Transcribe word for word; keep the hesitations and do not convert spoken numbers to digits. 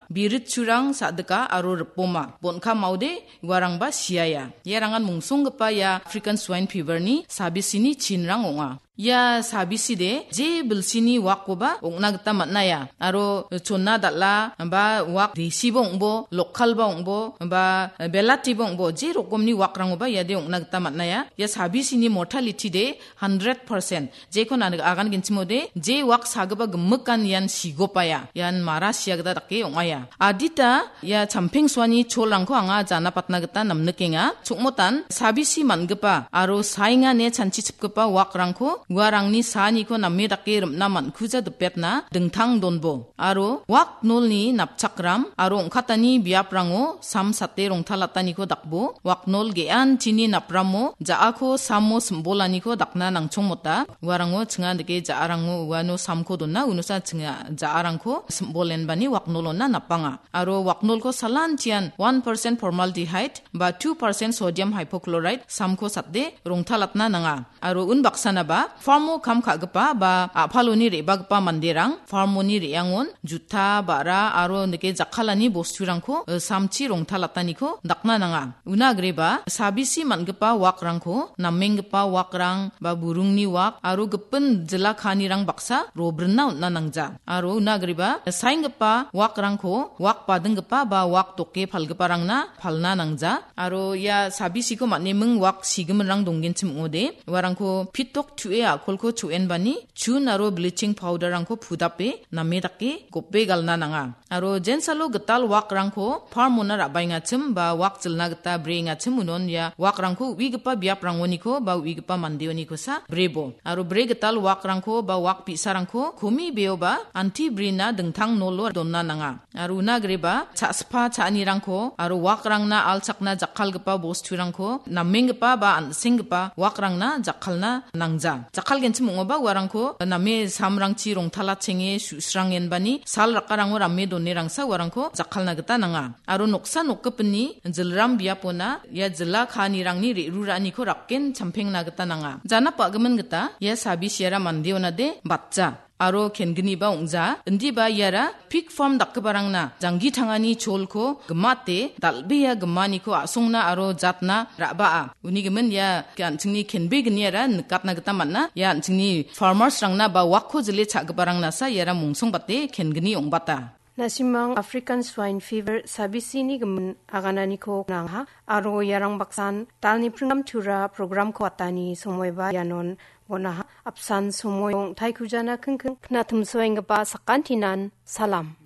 biritchurang sa·dika aro ripoma. Bon·ka maode uarangba siaia. Iarangan mungsonggipa ia African Swine Fever-ni sabisini chinrang ong·a. Ia sabiside je bilsini wakkoba ong·na gita man·aia. Aro chona dal·a ba wak desiba ong·bo, lokalba ong·bo, ba belatiba ong·bo, je rokomni wakrangoba iade ong·na gita man·aia. Ia sabisini mortality de hundred percent. Jekon an-, agangenchimode, je wak sagipa gimikan ian sigopaia. Ian mara sia gita dake ong·aia. Adita ia champengsoani cholrangko anga jana patna gita namnikenga. Chokmotan sabisi man·gipa aro saengane chanchichipgipa wakrangko uarangni saaniko name dake rim·na man·kuja dipetna dingtang donbo. Aro wak nolni napchakram aro ong·katani biaprango sam sate rongtalataniko dakbo. Wak nol ge·anchini napramo ja·ako samo simbolaniko dakna nangchongmota. Uarango chinga dike ja·arango uano samko dona, unosa chinga ja·arangko simbolenbani wak nolona napanga. Aro waknolko salantian one percent formaldehyde ba two percent sodium hypochlorite samko sate rongtalatna nanga. Aro unbaksanaba farmo kam ka·gipa ba a·paloni re·bagipa manderang farmoni re·angon juta, ba·ra aro nike jakkalani bosturangko, eh, samchi rongtalataniko dakna nanga. Una agreba sabisi man·gipa wakrangko, namenggipa wakrang ba burungni wak aro gipin jila kaanirang baksa robrinna on·na nangja. Aro una agreba saenggipa wakrangko wak badinggipa ba wak doke palgiparangna palna nangja. Aro ia sabisiko man·eming wak sigiminrang donggenchim ong·ode, uarangko pitok tu·e a·kolko chu·enbani chun aro bleaching powder-rangko pudape name dake gope galna nanga. Aro jensalo gital wakrangko farmona ra·baengachim ba wak jilna gita breengachim unon ia wakrangko uigipa biaprangoniko ba uigipa mandeonikosa brebo. Aro bre gital wakrangko ba wak bi·sarangko komi beoba anti brina dingtang nolo donna nanga. Aro una agreba cha·spa cha·anirangko aro wakrangna alchakna jakkalgipa bosturangko namenggipa ba an·senggipa wakrangna jakkalna nangja. Jakkalgenchim ong·oba uarangko name samrangchi rongtalachenge su·srangenbani sal rakarango rame donerangsa uarangko jakkalna gita nanga. Aro noksa nokgipinni jilram biapona ia jila kaanirangni re·ruraaniko rapgen champengna gita nanga. Janap a·gimin gita ia sabisiara mandeonade batja. Aro kenginiba ong·ja, indiba iara pig farm dakgiparangna janggi tangani cholko gimate dal·bea gimaniko a·songna aro jatna ra·baa. Uni gimin ia an·chingni kenbegniara nikatna gita man·a. Ia an·chingni farmers-rangna ba wakko jile cha·giparangnasa iara mongsongbate kengini ong·bata. Nasimang African Swine Fever sabisini gimin agananiko nangha, aro iarang baksan talni pringam tura programko atani somoiba ianon bonaha. Apsan somoi ong·taikujana kingking knatimsoenggipa sakantinan salam.